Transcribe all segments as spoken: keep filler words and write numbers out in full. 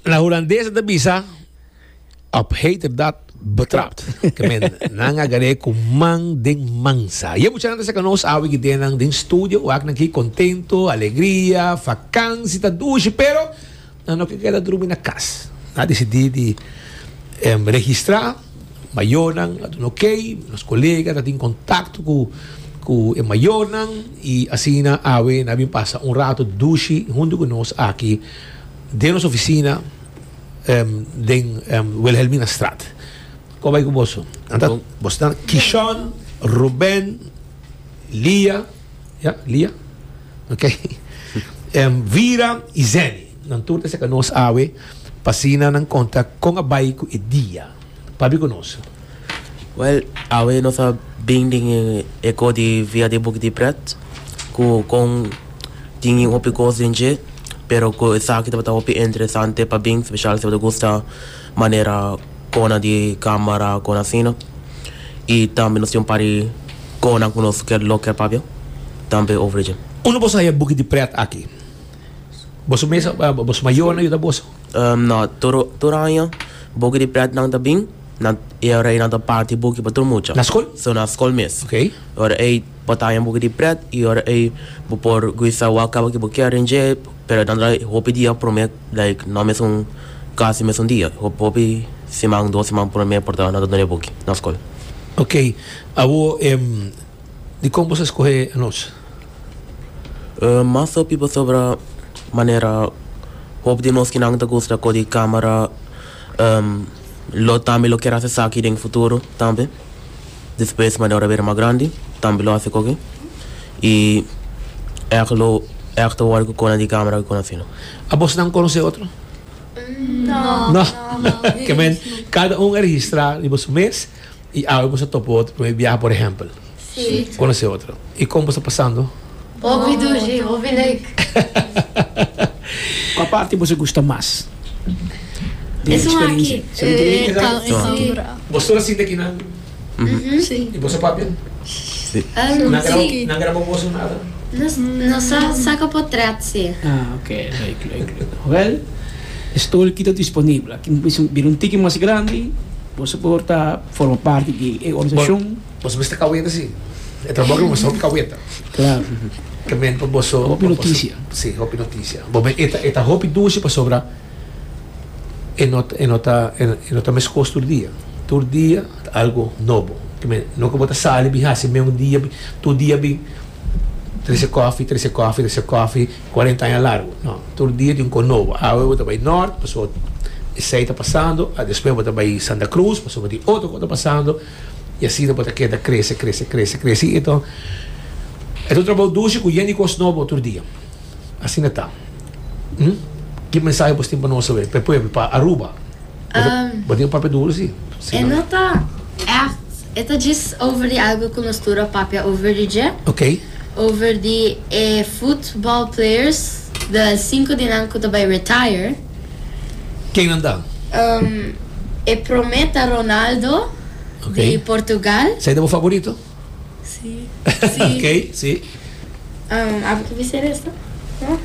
Na hulandes ta bisa: "Op heterdaad betrapt." Ke men, nan a gar'é ku man den mansa. I e muchanan ta serka nos awe aki den den studio, wak nan aki kontentu, alegria, vakantie ta dushi, pero nan no ke keda drumi na kas. Nan a disidí di um, registrá, mayornan, ok, nos kolega tin kontakto ku ku e mayornan i asina awe nan a bin pasa un ratu dushi huntu ku nos aki den nos ofisina um, den um, Wilhelminastraat. Kon ta bai ku boso? Anto, boso ta Kishon, Ruben, Lia, ja, Lia, ok, um, Vira i Zeni. Nan tur ta serka nos awe, pa asina nan konta kon a bai ku e dia. Papia ku nos. Well, awe nos a bin den e kos di via di buki di pret, ku kon tin hopi kos den dje, pero ku esaki tabata hopi interesante pa bin, spesial si bo gusta manera kos di kamera, kos asina. I tambe nos tin un par di kos ku nos ke lo ke papia, tambe over dje. Unda boso a haña buki di pret aki? Boso mes, boso mayornan a yuda boso? Um, no, tur tur aña buki di pret nan ta bin, nan e ora ei nan ta parti buki pa tur mucha. Na skol? So na skol mes. Ok. Ora ei bo ta haña buki di pret i ora ei bo por gusta wak kaba ku bo kier den dje, pero nan ta hopi dia promé, like no mesun kasi mesun dia. Hopi siman, dos siman promé por ta nan ta duna buki na skol. Ok. Awo, um, dikon boso a skohe nos? Uh, mas hopi pasobra manera hopi di nos ku nan ta gusta kos di kamera, um, lo tambe lo kier hasi esaki den futuro tambe. Despues manera ora bira mas grandi, tambe lo hasi koke. I echt lo echt wòrdu ku kos di kamera ku asina. A boso nan konosé otro? No. No. Ke men, kada un a registrá riba su mes i awe boso a topa otro pa biaha, por ehèmpel. Si. Konosé otro. I kon boso ta pasando? Hopi dushi, hopi leuk. Kua parti boso gusta mas? Di Esun eksperensia. aki. Você Eh, Si. Boso a sinta aki nan Si. i boso papia? Si. Um, Nan graba, si. nan graba boso nada? Nos, nos a saka portret, si. Ah, ok, leuk, leuk, leuk. Wel, stoel aki ta disponibel. Aki bira un tiki mas grandi, boso por ta forma parti di e organisashon. Boso mester kaweta si. E trabou ku boso kaweta. Klaro. Ke men pa boso Hopi notisia. Si, hopi notisia. Bo men e ta e ta hopi dushi pasobra e no e no ta e no ta meskos tur dia. Tur dia algu nobo. Ke men no ku bo ta sali bin hasi un dia tur dia bin trese koffie, trese koffie, trese koffie, kuarenta aña largu. No, tur dia tin un kos nobo. Awe bo ta bai Noord, paso esei ta pasando, despues bo ta bai Santa Cruz, paso tin otro kos ta pasando. I asina bo ta keda krese, krese, krese, krese. Anto, e un trabou dushi ku yen di kos nobo tur dia. Asina ta. Hm? Ki mensahe bo tin pa nos awe? Pa pueblo, pa Aruba. Um, Bo tin papia duru, si. E no ta echt, e ta just over di algu ku nos tur a papia over di dje. Ok. Over di eh, football players, de sinku di nan ku ta bai retire. Ken nan ta? Um, e promé ta Ronaldo Ok. di Portugal. Esei ta bo favorito? Si. Si. Ok, si. Um, abo ke bisa resto? No?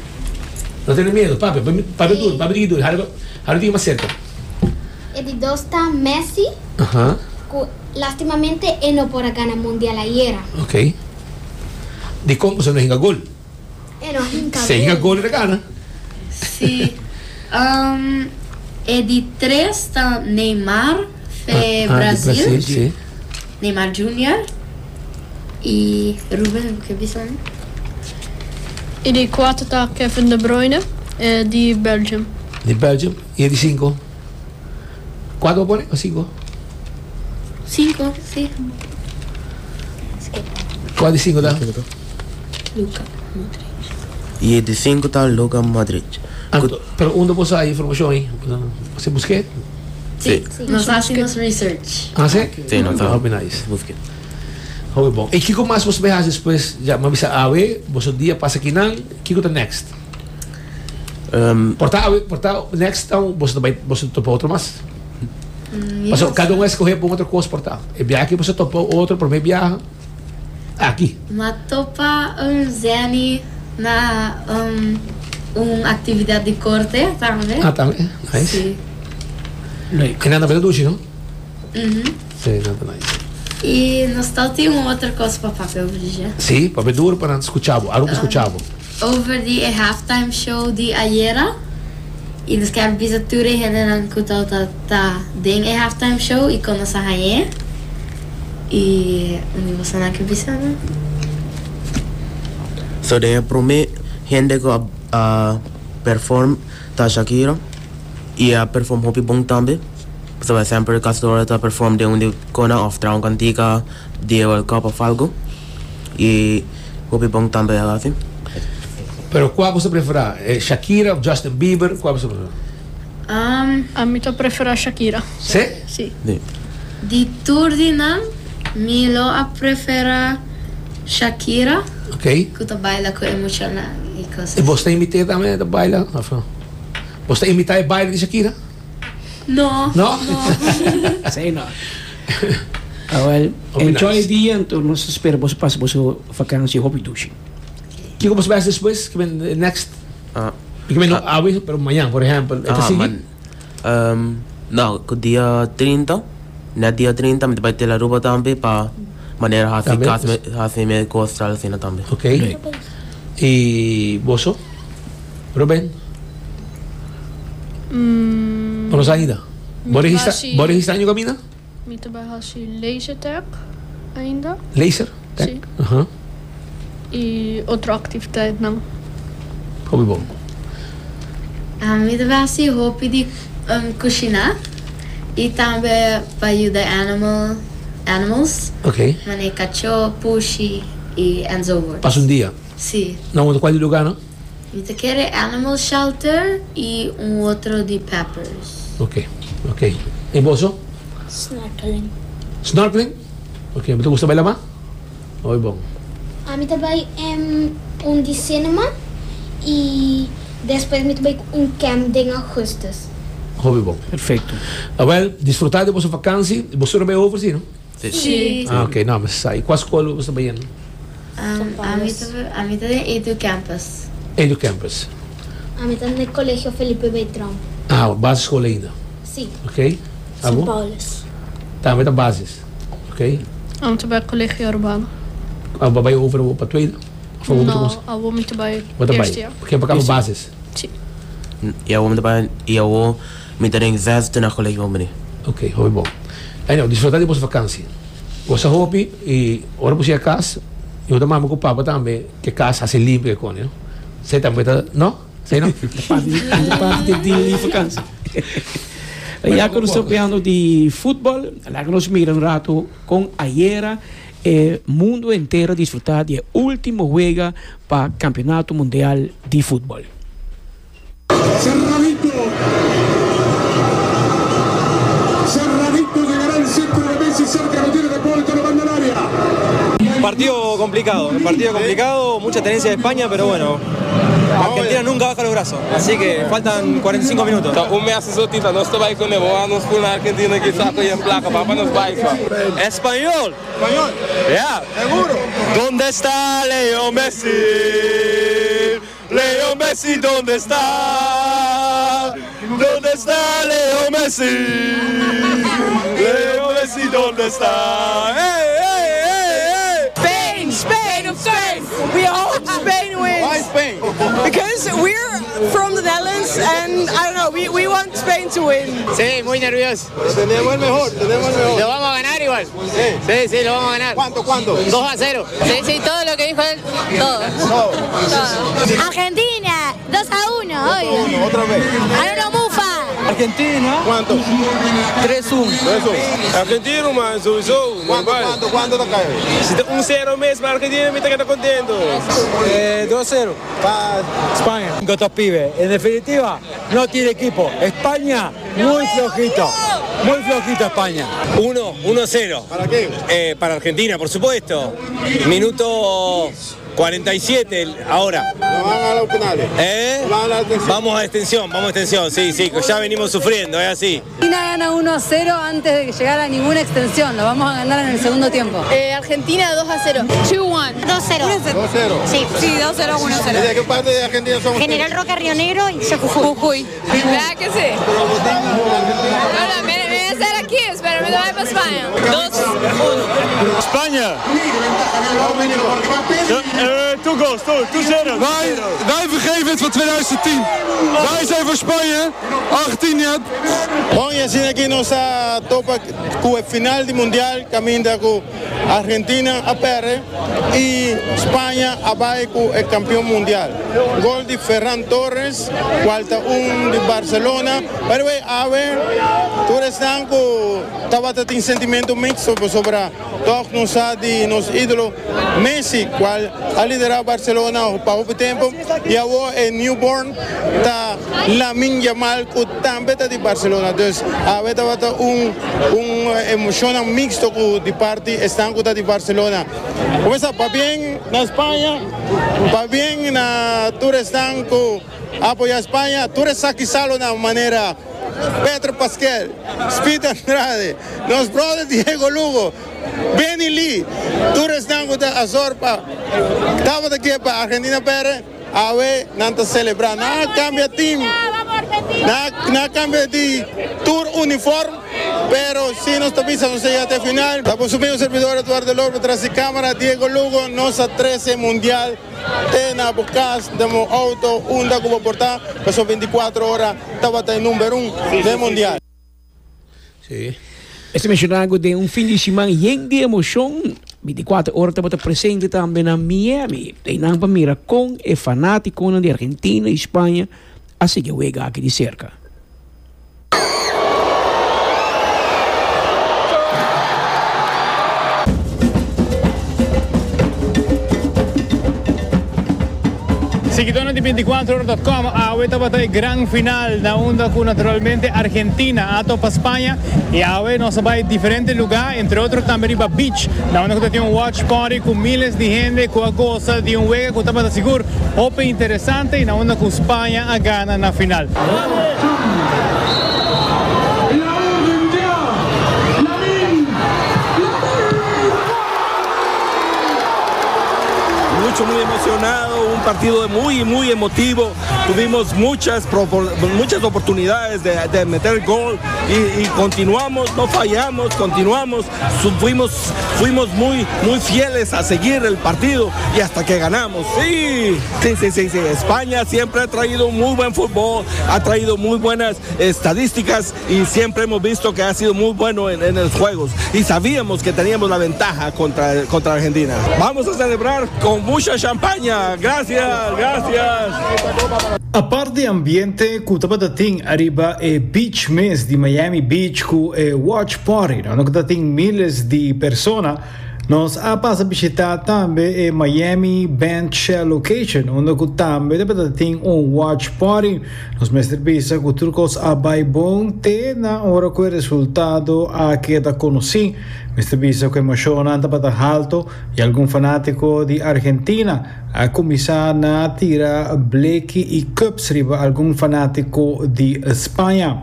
No tene miedu, papia, papia duru, papia duru, hali hali mas serka. E di dos ta Messi, Aham. ku lastimamente e no por a gana mundial ayera. Ok. Dikon boso no hinka gol? E no hinka Si hinka gol, e gana. Si. Um, e di tres ta Neymar, fe Ah, di Brasil. Brasil, si. Neymar Junior I Ruben, ke bisa? I di kuater ta Kevin De Bruyne, eh, di Belgium. Di Belgium. I di sinku? Kuater pone òf sinku? Sinku, si. Kua di sinku ta? Luka Modric. I di sinku ta Luka Modric. Anto, pero unda bo a haña informashon ei? Bo busk'é? Si. Si. Nos a hasi nos research. Ah, si? Si, nos Hopi nice. Busk'é. Hopi bon. I kiko mas boso bai hasi despues? Ya, m'a bisa awe, boso dia pasa akinan, kiko ta next? Um, Por ta awe, por ta next anto, boso bai, boso topa otro mas? Paso, kada un a skohe pa otro kos por ta. E biaha ku boso topa otro, promé biaha, aki. M'a topa un Zeni na um, Un aktividat di korte tambe. Ah, tambe. Nice. Si. Leuk. I nan ta dushi, no? Uhum. Si, nan ta nice. I nos tin un otro kos pa papia over dje. Si, papia duru pa nan skucha bo. Aruba skucha bo. Over di halftime show di ayera. I nos ke bisa tur hendenan ku ta ta den e halftime show i kon nos a hañ'é. I mi boso nan ke bisa, no? So den promé hende ku a uh, perform ta Shakira i a perform hopi bon tambe. So semper kasi ora ta perform den un kona òf traha un kantika di World Cup òf algu. I hopi bon tambe asina. Pero kua bo ta preferá? Eh, Shakira òf Justin Bieber? Kua bo ta preferá? Um, Ami ta preferá Shakira. Si? Si. Si. Di tur di nan, mi lo a preferá Shakira, Ok. ku ta baila ku emoshonal i kos. I bo ta imitá tambe ta baila? Òf no? Bo ta imitá e baile di Shakira? No. No? Sei no. Ah, well, Hopi enjoy nice. e dia, anto nos ta spera bo pasa bo vakantie hopi dushi. Kiko bo ta bai despues? Ku bin next? Ah, Ku bin no awe, pero mañan, por ehèmpel. ah, Ah, sigui? man. Um, no, ku dia trinta, na dia trinta, mi ta bai Aruba tambe pa manera hasi Tambe? kas hasi mi kos asina tambe. Ok. I boso? Ruben? Mm, Bo ainda? Bo registrá, Hasi- bo registrá na kaminda? Mi ta bai hasi laser tag ainda. Laser? Tag? Si. Aham. I otro aktividatnan. Hopi bon. Ami ta bai hasi hopi di um, kushiná i tambe pa yuda animal, animals, Ok. manera kachó, pushi i enzovoort. Pasa un dia. Si. Na kua lugá, no? Mi ta kere animal shelter i un otro di Peppers. Ok, ok. I boso? Snorkeling. Snorkeling? Ok, bo gusta baila mas? Oi, bon. Ami ta bai um, un di cinema i despues mi ta bai un camp den ougùstùs. Hopi bon. Perfekto. Ah, well, disfrutá di boso vakantie. Bo ta bai over, si, no? Si. Ah, ok. No, mas ei. Kua skol bo ta bai? Um, ami ta ami ta den Edu Campus. Edu Campus. Ami ta na Kolegio Felipe Beltrán. Ah, basisschool ainda. Si. Ok? São Abo? Paulus. Tambe ta basis. Ok? Ami ta bai Kolegio Arubano. Ah, bai over pa tweede? Òf bo No, awor mi ta bai Bo ta bai? eerste jaar. Porque pa basis. Si. I awor mi bai i awor mi ta den zesde na kolegio meneer. Ok, hopi bon. Anyway, disfrutá di boso vakantie. Gosa hopi i ora bo yega kas, i ora mama ku papa tambe, ku kas hasi limpi ku no? Bo tambe ta, no? Sei no? Parti, parti di, di vakantie. Ya ku nos ta papiando di futbòl, laga nos mira un ratu kon ayera eh, mundu entero a disfrutá di último wega pa Kampeonato Mundial di Futbòl. Cerradito. Cerradito llegará el centro de Messi cerca, lo tiene De Paul, lo manda al área. Partido complicado, partido complicado, mucha tenencia de España, pero bueno, Argentina nunca baja los brazos, así que faltan cuarenta y cinco minutos. Un mes sotita, nos bai ku ne, nos na Argentina ku sako en plaka, papa nos bai. Español. Español. Ya. Seguro. ¿Dónde está Leo Messi? Leo Messi, ¿dónde está? ¿Dónde está Leo Messi? Leo Messi, ¿dónde está? ¡Ey, ey, ey, ey! Spain, Spain, Spain. We hope Spain wins. Why Spain? Because we're from the Netherlands and I don't know, we, we want Spain to win. Sí, muy nervioso. Tenemos el mejor, tenemos el mejor. Lo vamos a ganar igual. Sí, sí, sí, lo vamos a ganar. ¿Cuánto, cuánto? dos a cero. Sí, sí, todo lo que dijo él, todo. Todo. Argentina, dos a uno, obvio. Otra vez. A lo mufa. Argentina. ¿Cuánto? tres uno. Argentino, man, sowieso. ¿Cuánto, cuánto, cuánto te cae? Si un cero mes pa Argentina, mi ta keda kontentu. Eh, dos cero. Pa España. Con estos pibes. En definitiva, no tiene equipo. España, muy flojito. Muy flojito España. uno, uno cero. ¿Para qué? Eh, para Argentina, por supuesto. Minuto cuarenta y siete ahora. ¿No van a los penales? ¿Eh? ¿Van a la extensión? Vamos a extensión, vamos a extensión, sí, sí, ya venimos sufriendo, es así. Argentina gana uno a cero antes de llegar a ninguna extensión. Lo vamos a ganar en el segundo tiempo. Eh, Argentina dos a cero. dos uno. dos cero. dos cero. Sí. Sí, dos cero, uno cero. ¿De qué parte de Argentina son? General Roca, Río Negro y Jujuy. Jujuy. ¿Verdad que sí? Ahora, me, me voy a estar aquí, pero me voy para España. dos uno. Spanje. Two goals, two, two zero. Wij, wij vergeven het van tweeduizend tien. Wij zijn voor Spanje. Argentinië. Bon, y asina aki nos a topa ku e final di Mundial, kaminda ku Argentina a pèrdè i Spaña a bai ku e kampeon mundial. Gol di Ferran Torres, kual ta un di Barcelona. By the way, awe, tur esnan ku tabata tin sentimentu miksto sobre toch nos di nos ídolo Messi, kual a liderá Barcelona pa poko tempu, i awor e newborn ta Lamine Yamal, ku tambe ta di Barcelona. Dus awe tabata un un emoshon miksto ku di parti esnan ku ta di Barcelona. Kuminsá pabien na Spaña, pabien na tur esnan ku apoyá Spaña, tur esaki salo na manera Petro Pascal, Speed Andrade, nos brother Diego Lugo, Benny Lee, tur esnan ku ta azorpa, tabata aki pa Argentina pèrdè, awe nan ta selebrá, nan a kambia team, nan a, nan a kambia di tur uniform, pero si nos ta bisa, nos yega te final. Ta por supuesto servidor Eduardo López, tras di kámara Diego Lugo, nos a trese Mundial te na bo kas, den outo, unda ku por ta, pasó bintikuater ora, tabata number un di Mundial. Sí. Este menshonando di un fin di siman yen di emoshon. bintikuater ora tabata presente tambe na Miami. I nan pa mira kon e fanátikonan di Argentina i Spaña a sigui wega aki di serka. Siguidónan di bintikuater ora punto com, awe tabata e gran final na unda ku naturalmente Argentina a topa Spaña i awe nos a bai diferente lugá, entre otro tambe riba beach, na unda ku tin un watch party ku miles di hende ku a gosa di un wega ku tabata sigur hopi interesante i na unda ku Spaña a gana na final. Mucho, muy emocionado, un partido muy, muy emotivo. Tuvimos muchas, muchas oportunidades de, de meter gol y, y, continuamos, no fallamos, continuamos, fuimos, fuimos muy, muy fieles a seguir el partido y hasta que ganamos. Sí, sí, sí, sí, sí. España siempre ha traído muy buen fútbol, ha traído muy buenas estadísticas y siempre hemos visto que ha sido muy bueno en, en los juegos y sabíamos que teníamos la ventaja contra, contra Argentina. Vamos a celebrar con mucha champaña. Gracias, gracias. Aparte ambiente ku tabatin ariba e beach mes di Miami Beach ku e watch party, no ku tin miles di persona, nos a pasa bishitá tambe e Miami Bandshell Location, unda ku tambe tabatin un watch party. Nos mester bisa ku tur kos a bai bon te na ora ku e resultado a keda konosí. Mester bisa ku emoshon tabata haltu i algun fanátiko di Argentina a kuminsá na tira bleki i cups riba algun fanátiko di Spaña.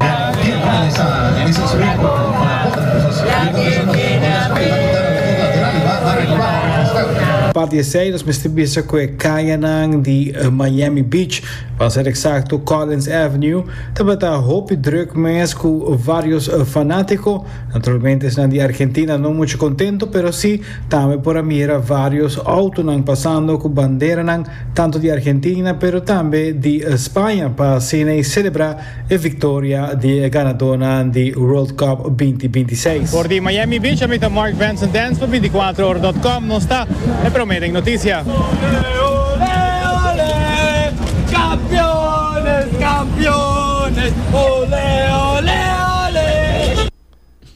Parti seis, nos mester bisa ku e kayanan di Miami Beach, pa ser eksakto Collins Avenue, tabata hopi drùk mes ku varios fanátiko. Naturalmente, esnan di Argentina no muchu kontentu, pero sí, tambe por a mira varios outonan pasando ku banderanan tantu di Argentina, pero tambe di Spaña, pa asina selebrá e viktoria di ganadónan di World Cup dos mil bintiseis. For di Miami Beach, ami ta Mark Vincent Dance pa bintikuater ora punto com, nos ta e promé den notisia. Campeones, campeones, olé, olé, olé.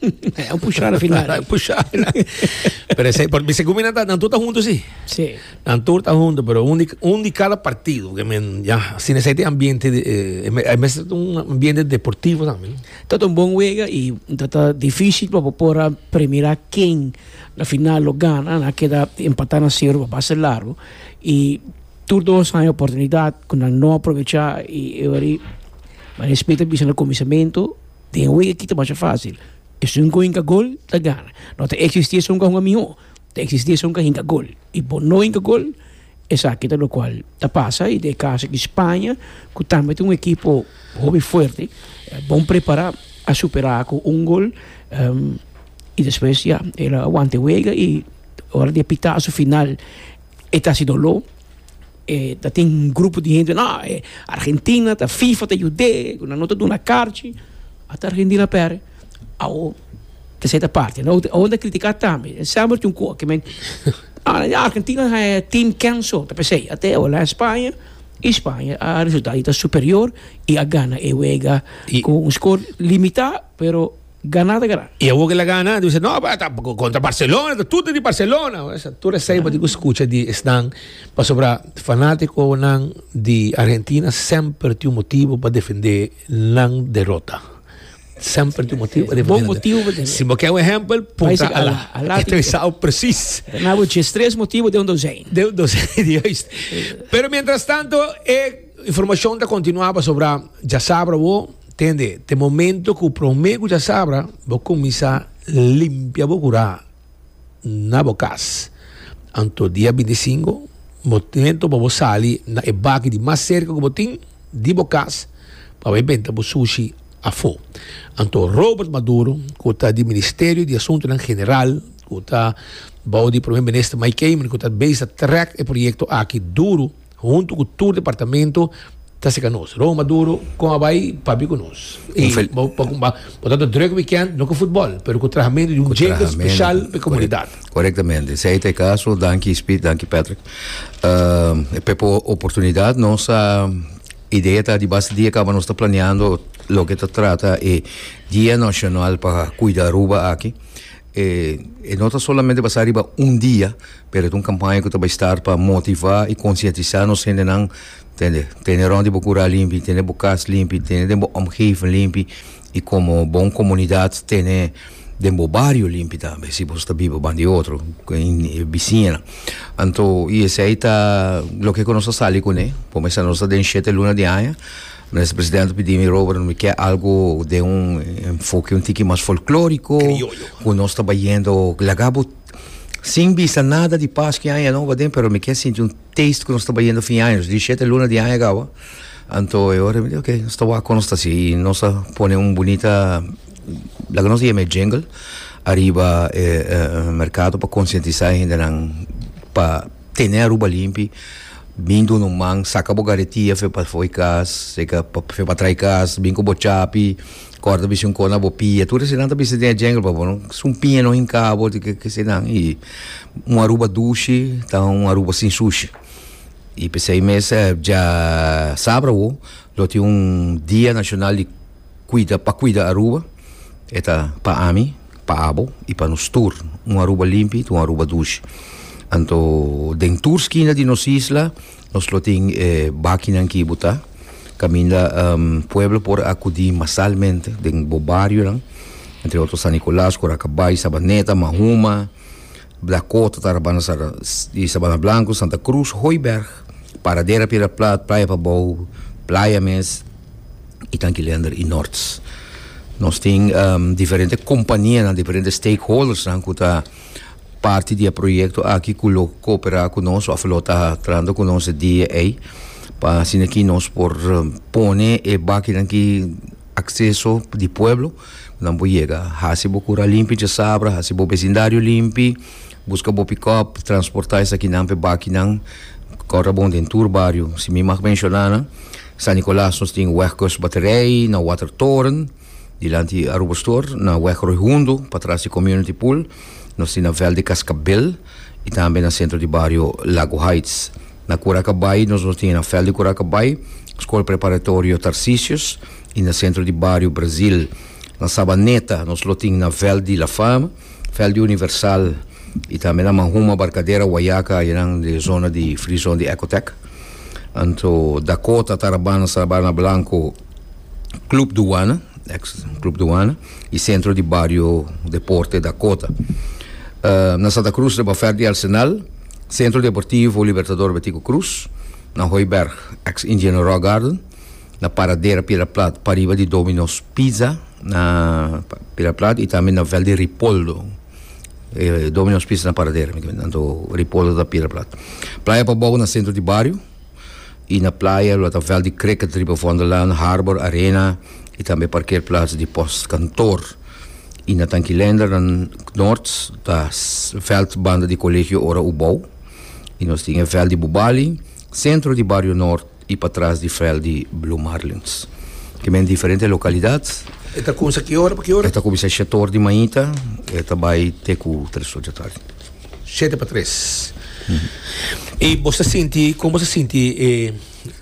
E un pushá na final. Pushá. Pero esei, por segun mi nan ta, nan tur ta huntu si. Si. Nan tur ta huntu, pero un di, un di kada partido, ke men ya, asina esei tin ambiente di, eh, e mester ta un ambiente deportivo tambe, no? Ta un bon wega i ta ta difícil pa bo por a premirá ken na final lo gana. Nan a keda empatá na sero pa basta largu i tur dos haña oportunidat ku nan no a aprovechá i e ora ei Maria Smith a bisa na kuminsamentu den e wega aki ta masha fácil. Esun ku hinka gol ta gana. No ta eksistí esun ku a hunga mihó, ta eksistí esun ku a hinka gol. I bo no hinka gol, esaki ta lokual ta pasa. I den e kaso aki Spaña, ku tambe ta un ekipo hopi fuerte, bon prepará, a superá ku un gol. I despues ya, el a wanta e wega i ora di e pitazo final e ta hasi doló. E ta tin un grupo di hende, no, e Argentina ta FIFA ta yud'é, ku nan no ta duna karchi. Ata Argentina pèrdè. Awo ta seta parti. No, awo ta kritiká tambe. Semper tin un kos ke men, ah, Argentina haña team kenso. Ta p'esei ate awo la Spaña i Spaña a resultá di ta superior i a gana e wega ku un skor limitá, pero Ganá ta ganá. I awor ku el a gana, di bisa, no, ta kontra Barcelona, ta tur ta di Barcelona. Esa tur esei bo tin ku skucha di esnan, pasobra fanátikonan di Argentina semper tin un motibu pa defendé nan derota. Semper tin un motibu pa defendé. Bon motibu pa defendé. Si bo ke un ehèmpel, puntra Alá. E ta bisa presis. Na bo djes tres motibu den un dozijn. Den un dozijn, juist. Pero mientras tanto, e informashon ta kontinuá pasobra djasabra bo. Tende, te momento ku promé ku djasabra bo kuminsá limpia bo kurá na bo kas. Anto dia binti sinku, momento pa bo sali na e baki di mas serka ku bo tin di bo kas pa bai benta bo sushi afó. Anto Robert Maduro ku ta di Ministerio di Asuntunan General ku ta bou di Prome Minister Mike Eman ku ta bezig ta trèk e proyekto aki duru huntu ku tur departamento Ta seka nos. Roma duro con a bay papia cu nos. Y bo bo ta druk weekend no cu futbol pero cu trahamentu di un jingle special pa e comunidad. Corectamente. Esey ta e caso. Danki Speed, danki Patrick. P'e oportunidad nos a idea ta di basta dia caba nos ta planeando loke ta trata e Dia Nacional pa Cuida Aruba aki. E no ta solamente basa riba un dia, pero ta un campaña cu ta bay start pa motiva y concientisa nos hendenan, tende, tene rond di bo cura limpi, tene bo cas limpi, tene den bo omgeving limpi y como bon comunidad tene den bo bario limpi tambe, si bo ta biba banda di otro, bisiñanan. Anto, y esey ta loke cu nos a sali cune, por mester nos ta den shete luna di aña. Minister Presidente a pidi mi, Robert, mi ke algo den un enfoke un tiki mas folkloriko, ku nos ta bayendo laga bo sin bisa nada di Pasku i Aña Nobo aden, pero mi ke sinti un taste ku nos ta bayendo fin aña, nos di shete luna di aña kaba. Anto e ora mi di ok, nos ta wak kon nos ta hasi i nos a pone un bunita, laga nos yama e jingle, ariba e merkado pa konsientisá e hendenan pa tene Aruba limpi. Bin duna un man, saka bo garetia fe pa fo'i kas, seka fe pa trai kas, bin ku bo chapi, kòrda bisi un kos na bo pia. Tur eseinan ta bisa den e jungle pa bo no sumpiña no hinka bo di ke eseinan. I un Aruba dushi ta un Aruba sin sushi. I p'esei mes djasabra awo lo tin un dia nashonal di kuida pa kuida Aruba. E ta pa ami, pa abo i pa nos tur. Un Aruba limpi ta un Aruba dushi. Anto den tur skina di nos isla nos lo tin e bakinan ki bo ta kaminda pueblo por akudí masalmente den bo barionan, entre otro San Nicolas, Coracabay, Sabaneta, Mahuma, Dakota, Tarabana i Sabana Blanco, Santa Cruz, Hooiberg, Paradera, Piedra Plat, Playa Pabou, Playa mes i Tanki Leander i Norts. Nos tin diferente kompanianan, diferente stakeholdersnan ku ta parti di e proyekto aki ku lo kooperá ku nos òf lo ta trahando ku nos e dia ei pa asina ki nos por pone e bakinan ki akseso di pueblo ku nan por yega. Hasi bo kura limpi djasabra, hasi bo besindario limpi, buska bo pikòp, transportá esakinan pa e bakinan. Kòrda bon den tur bario. Si mi mag menshoná nan, San Nicolas nos tin Weg Kustbatterij, na Watertoren, dilanti Aruba Store, na Weg Rooi Hundo, patras di Community Pool, nos tin na Veld di Cascabel y tambe na Centro di Bario Lago Heights. Na Curacabai nos nos tin na Veld di Curacabai, School Preparatorio Tarcisius y na Centro di Bario Brazil. Na Sabaneta, nos lo tin na Veld di La Fama, Veld di Universal y tambe na Mahuma, Barcadera, Wayaca, den zona di free zone di Ecotech. Anto Dakota, Tarabana, Sabana Blanco, Club Duana, ex Club Duana, y Centro di Bario Deporte Dakota. Uh, na Santa Cruz di Bafer di Arsenal, Centro Deportivo Libertador Betico Croes, na Hooiberg, ex Indian Rock Garden, na Paradera Piedra Plat, pariba di Domino's Pizza, na Piedra Plat y tambe na Veld di Ripoldo. Eh, Domino's Pizza na Paradera, anto Ripoldo na Piedra Plat. Playa Pabou na Centro di Bario, y na Playa, lo ta Veld di Cricket, riba Vondellaan, Harbor Arena y tambe parkeerplaats di Postkantoor. Y na Tanki Leendert, na Noord, ta veld banda di Colegio Ora Ubou. Y nos tin veld di Bubali, Centro di Bario Noord y patras di veld di Blue Marlins. Cu diferente localidad. E ta cuminsa ki ora pa ki ora? E ta cuminsa shete or di mainta, e ta bay te cu tres or di atardi. Shete pa tres. Y bo ta sinti, con bo ta sinti, eh,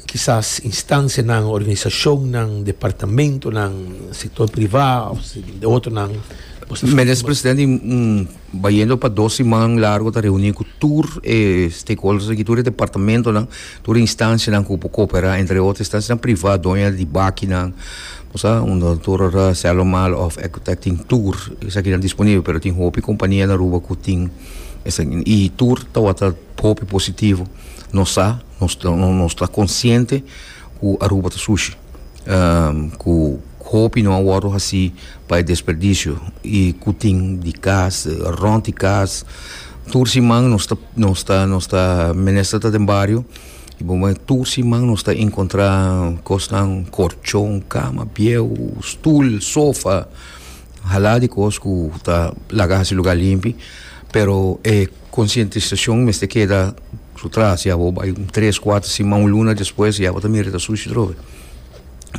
kisas instancianan, organisacionnan, departamentonan, sector priva, of di otronan? Minister Presidente, um, bayendo pa dos siman largo ta reuni cu tur eh, stakeholders aki, tur departamentonan, tur instancianan cu coopera, entre otro instancianan priva, doño di bakinan, osea, un tur Celomal of Ecotech tin tur, esaki disponibel, pero tin hopi compania na Aruba cu tin y tur ta hopi positivo. Nos sa, nos nos ta consciente cu Aruba ta sushi. Um, cu hopi no a wordo asina pa desperdicio y cu tin di cas, rond di cas. Tur siman nos ta nos ta nos ta minister ta den bario y bon, tur siman nos ta encontra cosnan, colchon, cama, bieu, stoel, sofa, hala di cos cu ta laga e lugar limpi, pero eh, concientisacion mester keda su tras, ya bo bay tres, cuater siman, un luna despues, ya bo ta mira ta sushi trobe.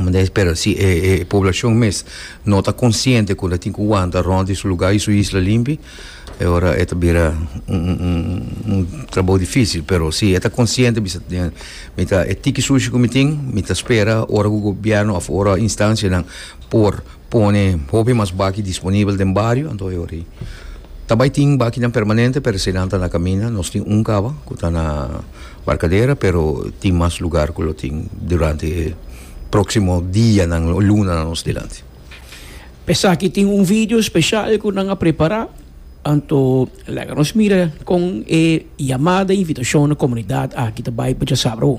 Mas pero si e, e poblacion mes no ta consciente cu tin cu wanta rond di su lugar y su isla limpi, ora e ta bira un, un, un trabou dificil, pero si ta consciente, mi ta e tiki sushi cu mi tin, mi ta spera ora e gobierno of ora instancianan por pone hopi mas baki disponibel den bario, anto ora tambe tin bakinan permanente, pero esey ta na caminda. Nos tin un caba cu ta na Barcadera, pero tin mas lugar cu tin durante proximo dianan, luna nos dilanti. P'esaki tin un video special cu nan a prepara, anto laga nos mira con e yamada, invitacion na comunidad aki tambe pa sabi.